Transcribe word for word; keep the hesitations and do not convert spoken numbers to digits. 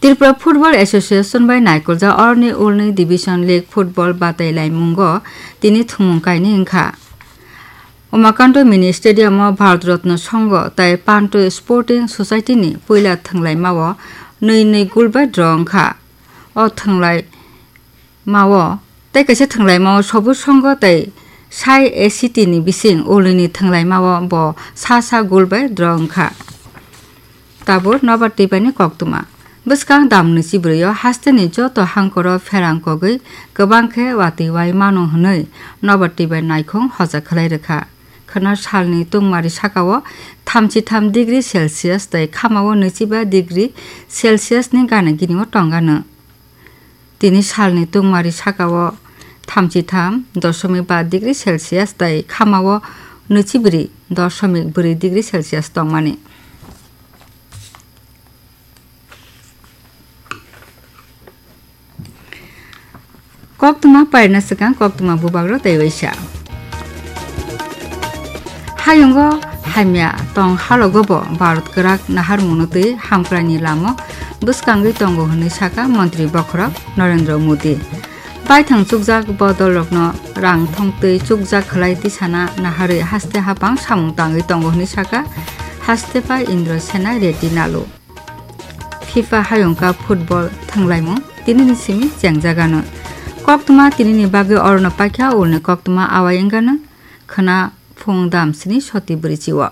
Tripura Football Association bai naikoljak oroni ulni Division League football batai laimungo tini thumung kainwi wngkha. Umakanto Mini Stadium o Bharat Ratna Sangha tai Panto Sporting Society ni puila thwnglaima o nwi nwi goal bai draw wngkha. O thwnglai mao tei kaisa thwnglaimao Sobu Sangha tei Sai A C T ni bising ulini thwnglaimao bo sa sa goal bai draw wngkha. Tabuk nobar twibaini koktwma. Bwskang damni chibrwio hasteni joto hangkoro pherang kogwi kwbang khe watwi wai mano hwnwi nobar twibai naikhung hoja khlai rwkha. Khwna salni tungmari sakao thamchi tham degree Celsius tei khamao nwichiba degree Celsius ni gana gini o tongano. Tini salni tungmari sakao thamchi tham dosomik ba degree Celsius tei khamao nwichibri dosomik bwrwi degree Celsius tongmani. Koktwma pairna swkang koktwma bubagrok tei waisa. Hayungo hamya tong halogo bo Bharat kwrak naharmungno twi hamkraini lamo bwskangwi tongo hwnwi sakha Montri bokhorok Narendra Modi. Baithang chukjak bodolrokno rang thongtwi chukjak khlai tisana naharwi haste hapang samung tangwi tongo hwnwi sakha haste pai Indra Sena Reddy Nalu. FIFA Hayung Cup football thwnglaimung tinini simi chengjagano. Koktwma tinini bagwi orono paikha ulni koktwma awai wngano khwna phung dam sini soti bwrwi chio.